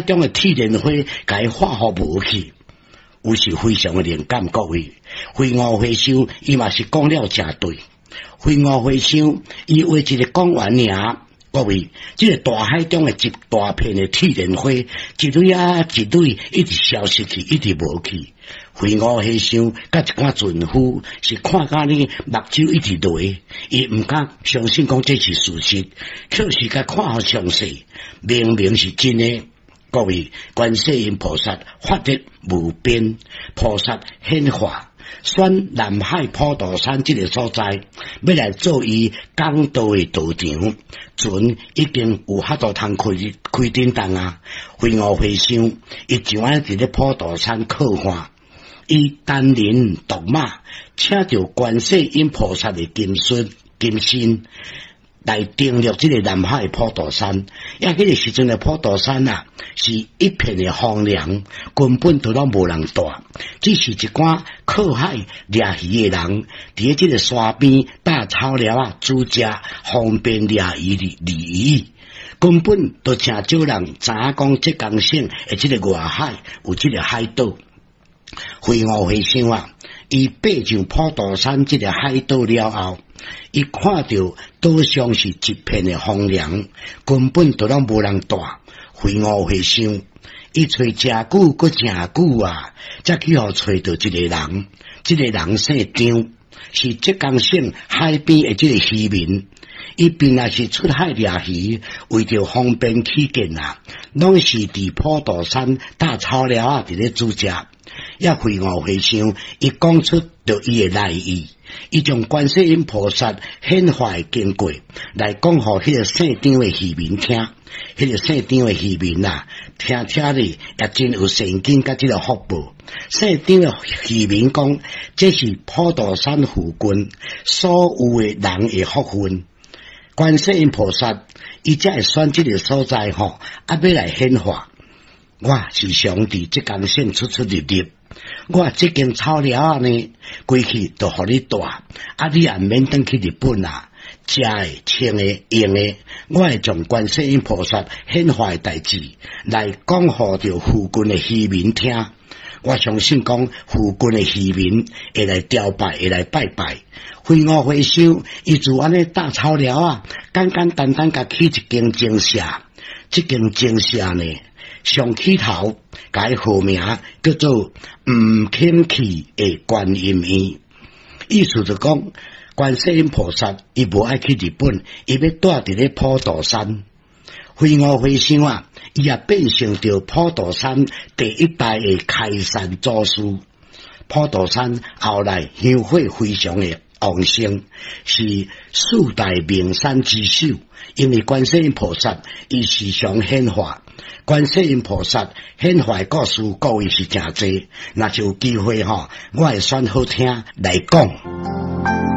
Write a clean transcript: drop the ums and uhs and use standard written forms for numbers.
中的鐵蓮花，共伊化予無去，有時非常的靈感。各位，飛魚和尚伊嘛是講了誠對。飛魚和尚伊畫一個講完爾，各位，這個大海中的一大片的鐵蓮花，一蕊啊一蕊，一直消失去，一直無去。飛魚和尚佮一寡船夫是看甲呢目睭一直淚，伊毋敢相信講這是事實，確實共看予詳細，明明是真的。各位，觀世音菩薩法力無邊，菩薩顯化，選南海普陀山這個所在，欲來做伊講道的道場，船已經有法度通開開振動啊！飛魚和尚，伊就按呢佇咧普陀山靠岸，伊單人獨馬，請著觀世音菩薩的金身金身來登陸這個南海普陀山。啊，彼個時陣的普陀山啊，是一片的荒涼，根本都攏無人蹛，只是一寡靠海掠魚的人，佇咧這個山邊搭草寮仔煮食，方便掠魚的鯉魚。根本都誠少人知影講浙江省的這個外海有這個海島。飛魚和尚啊，伊爬上普陀山這個海島了後，伊看著島上是一片的荒涼，根本都攏無人蹛。飛魚和尚，伊揣誠久，閣誠久啊，才去予揣著一個人。這個人姓張，是浙江省海邊的這個漁民。伊平常時出海掠魚，為著方便起見啊，攏是佇普陀山搭草寮仔佇咧煮食。遐飛魚和尚，伊講出著伊的來意，伊將觀世音菩薩顯化的經過來講予彼個姓張的漁民聽。彼個姓張的漁民啊，聽聽咧也真有善根佮這個福報。姓張的漁民講，這是普陀山附近所有的人的福分。觀世音菩薩，伊才會選這個所在吼，啊，欲來顯化。我時常佇浙江省出出入入，我這間草寮仔呢，規氣都予你蹛，啊，你也毋免轉去日本啊，食的、穿的、用的，我會將觀世音菩薩顯化的代誌來講予著附近的漁民聽。我相信講附近的漁民會來朝拜，會來拜拜。飛魚和尚，伊就按呢搭草寮仔，簡簡單單共起一間精舍，這間精舍呢，上起頭，共伊號名叫做毋肯去的觀音院，意思就講觀世音菩薩伊無愛去日本，伊欲蹛佇咧普陀山。飛魚和尚啊，伊也變成著普陀山第一代的開山祖師。普陀山後來香火非常的旺盛，是四大名山之首。因為觀世音菩薩伊時常顯化，觀世音菩薩顯化的故事，各位是誠濟。若是有機會吼，我會選好聽來講。